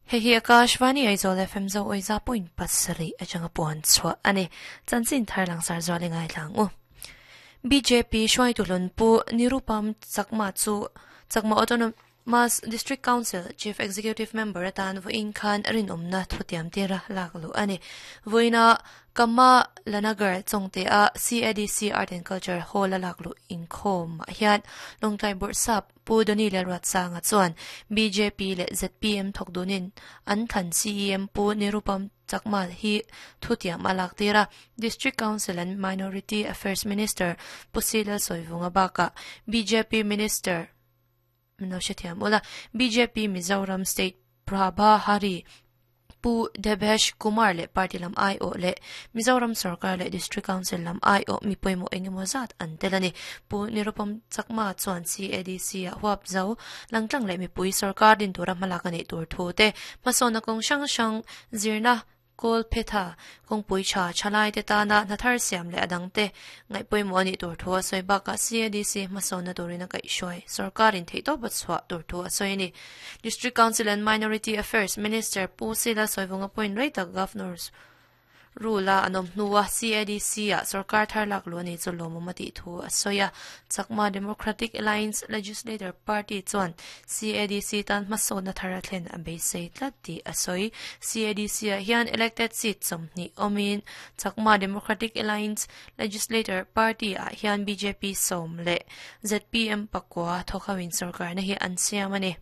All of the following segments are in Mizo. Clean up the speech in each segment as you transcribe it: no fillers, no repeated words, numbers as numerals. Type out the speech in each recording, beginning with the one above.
Hei hi Akashvani Aizawl FM zo awiza point pasarih atanga puan chhuah a ni. Chanchin thar langsar zual i ngaithla ang u. Bjp hruaitu hlun Pu Nirupam Chakma chu Chakma Autonomous District Council Chief Executive Member atan vawiin khan rinawmna thutiam tira lak luh a ni. Vawiina Kama Lanagar Chawngte-a CADC Art and Culture Hall-a lak luh inkhawmah hian Lawngtlai Bawrhsap Pu Donny Lalruatsanga chuan bjp leh zpm thawk dunin an thlan CEM Pu Nirupam Chakma hi thutiam a lak tir a. District Council and Minority Affairs Minister Pu Si Lalsawivunga bakah bjp Minister Min lo hrethiam ula, bjp Mizoram State Prabha Hari, Pu Debesh Kumar leh party lam aiawh leh Mizoram sorkar leh District Council lam aiawh mi pawimawh engemaw zat an tel a ni. Pu Nirupam Chakma chuan CADC ah huap zo langtlang leh mipui sorkar din tura hmalak a nih tur thu te, hmasawnna kawng hrang hrang zirna Kawl phetha, kawngpui tha thalai te tana hna thar siam leh a dang te ngaih pawimawh a nih tur thu a sawi bakah CADC hmasawnna turin a kaihhruai sorkarin theihtawp a chhuah tur thu a sawi a ni. District Council and Minority Affairs Minister Pu Sila Sawivunga point rei tak Governors Rule a an awm hnua CADC ah sorkar thar lak luh a ni chu lawmawm a tih thu a sawi a. Chakma Democratic Alliance Legislator Party chuan CADC tan hmasawnna thar a thlen a beisei tlat tih a sawi. CADC ah hian elected seat 20 awmin Chakma Democratic Alliance Legislator Party ah hian bjp 10 leh zpm pakua thawk ho in sorkarna hi an siam a ni.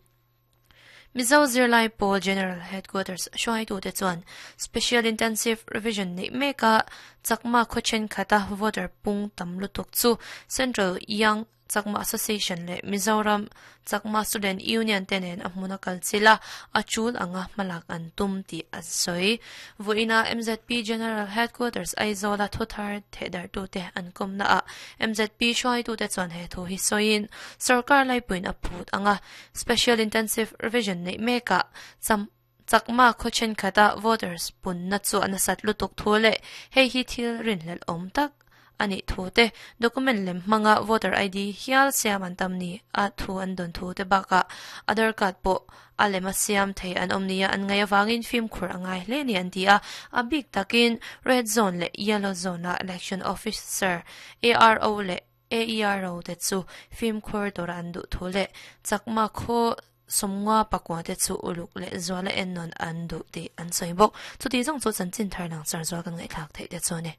Mizo Zirlai Pawl General Headquarters hruaitute chuan Special Intensive Revision neih meka Chakma khaw thenkhat a voter pung tam lutuk chu Central Young Chakma Association leh Mizoram Chakma Student Union te nen a hmun a kal chilh a, a tul anga hmalak an tum tih an sawi. Vawiina MZP General Headquarters Aizawla thuthar thehdarhtute an kawmnaah MZP hruaitute chuan he thu hi sawiin sorkar laipuiin a phut anga Special Intensive Revision neih mekah cham Chakma khaw thenkhat-a voters punna chu a nasat lutuk thu leh hei hi thil rinhlelh awm tak a nih thu te, document lem hmanga voter ID hial siam an tam ni a thu an dawn thu te bakah Aadhaar card pawh a lem a siam thei an awm nia an ngaih avangin fimkhur a ngai hle ni an ti a, a bik takin Red Zone leh Yellow Zone-a Election Officer, ARO leh AERO te chu fimkhur tura an duh thu leh Chakma khaw 50 pakua te chu uluk leh zuala ennawn an duh tih an sawi bawk. Chuti zawng chu chanchin thar lang char zual kan ngaihthlak theih te chu a ni.